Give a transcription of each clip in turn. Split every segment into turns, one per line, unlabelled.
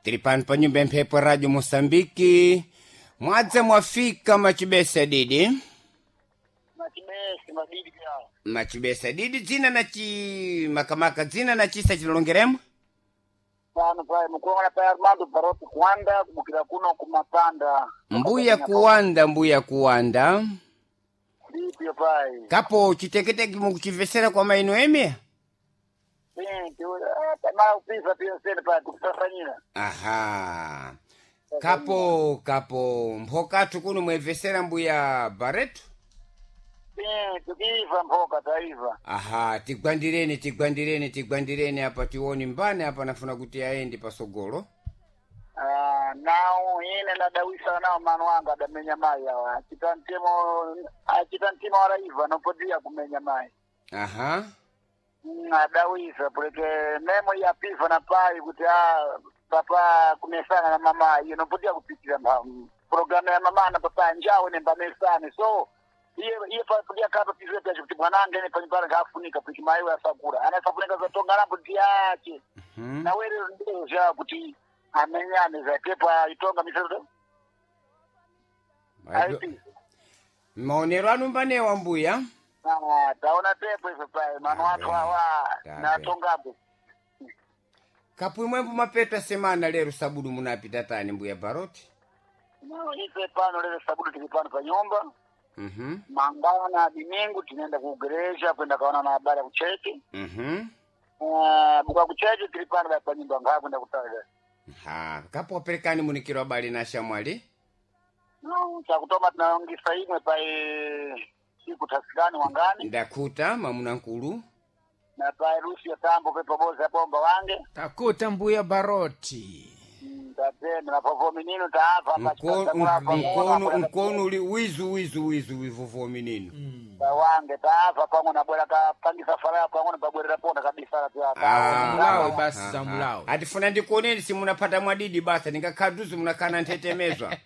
Tili pano pa nyumba ya mphepo Radio Mosambiki. Mwadza mwafika machibesa didi.
Machibesi madidi pya.
Machibesa didi dzina na chi makamaka dzina na chisa chilongeremo.
Pano pai mukuona pai Armando Baroti kuanda kubukira kuno kumapanda.
Mbuya kuwanda, mbuya kuwanda.
Ndipyo pai.
Kapo chiteketeke mukuchivesera kwa maino eme?
Tamara upisa pia sene pai tukusafanyira.
Aha. Kapo kapo mphokathu kuno mwevesera mbuya Barreto.
Tukiiva mphoka taiva.
Aha, tigwandireni tigwandireni tigwandireni apa tione mbane apa nafuna kuti aende pasogolo.
Ah, nao ine ndadawisa nao mano wanga adamenya mai awa achita mtemo achita mtima waraiva nopodia kumenya mai.
Aha.
Adawisa puleke memo yapiva na pai kuti a papa kumesana na mama iyo nopodia kupitira programu ya mama na papa njawo nembamesane so iye iye papodia kapa pizwe pyacho kuti mwanange ne panyumbani ngafunika kuti mai asakura anasafunika zatonga nambo ndiyache
Hmm.
nawere ndizvo zva kuti amenyane zatepo aitonga miseto aipi
Maonero anu mbanewa mbuya.
Ah, taona tepo ife pai mano athu awa
Tabe.
natongapo
Kapu imwembo mapeta semana lero sabudu munapita tani mbuya Baroti.
No, ife pano lero sabudu tili pano pa nyumba
Mhm.
mangwana dimingu tinaenda kugereja kwenda kaona na habari ya kucheki.
Mhm.
Buka kucheki tili pano pa nyumba ngaa kwenda kutaga.
Ha, kapo waperekani munikiro habari na shamwali.
No, chakutoma tunaongisa imwe pai siku tasikani wangani
Ndakuta mamuna nkulu.
na pai rusi ya tambo pepo boza bomba wange.
Takuta mbuya Baroti.
Tatenda na povo minino taava hapa
Mkono mkono uli wizu wizu wizu wivovo minino.
Wange taava pamwe na bwera kapangisa faraya pamwe na pabwerera ponda kabisa la pya.
Mulawe basi za mulawe.
Atifuna ndikuoneni simunapata mwadidi basa ndingakhaduzi munakana nthetemezwa.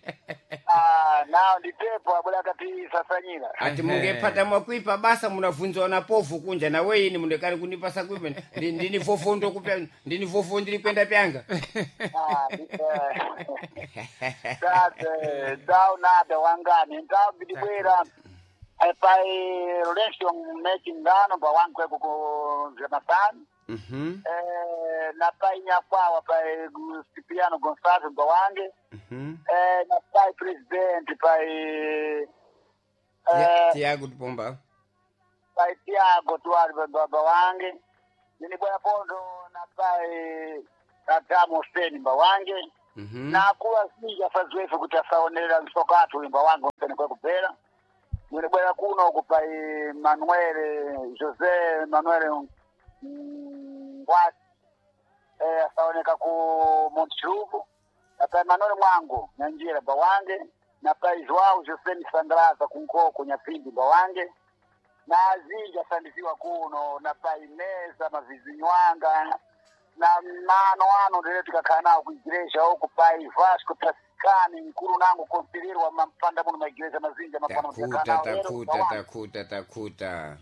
Ah, nao nditepo abwera kati sasanyira.
Ati mungepata mwakuipa basa munavunzwa na povu kunja na weini mundekani kunipasa kuipa ndini vovo ndokupya ndini vovo ndiri kwenda pyanga.
Ah, tate ndau nada wangani ndau bidibwera pai relation making ngano pa wangu kweko ku Jonathan.
Mhm.
Na pai nyakwawa pai Cipriano Gonçalves mba wange.
Mhm.
Na pai president pai
Tiago Tupomba.
pai Tiago Tuari baba wange nini bwana pondo na pai Adamu Hussein mba wange.
Mhm.
Na kuwa sinja faziwefe kuti asaonera msokatu imba wangu mpene kwa kupera nini bwana kuno uku pai Manuel Jose Manuel Ngwati asaoneka ku Montichuvu na pai Manuel Mwangu Nyanjira mba wange na pai Joao Jose Misandraza kunkoko Nyapindi mba wange na azinja asandiziwa kuno na pai meza mavizinywanga na mano ano ndere tikakhala nawo kuigireja uku pai Vasco Tasikani mkulu nangu konsilerwa mampanda muno maigireja mazinja mapano
Takuta
tikakhala nawo lero
takuta
tawa-
takuta takuta.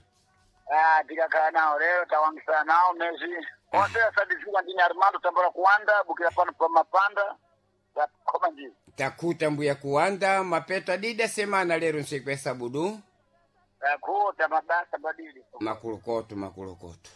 Ah, tikakhala nawo lero tawangisana nawo mezi onse asandiziwa ndine Armando Tambara kuwanda bukira pano pa mapanda takhoma njira.
Takuta mbuya kuwanda mapeta dida semana lero nsiku ya sabudu.
Takuta mabasa badili.
Makulukoto makulukoto.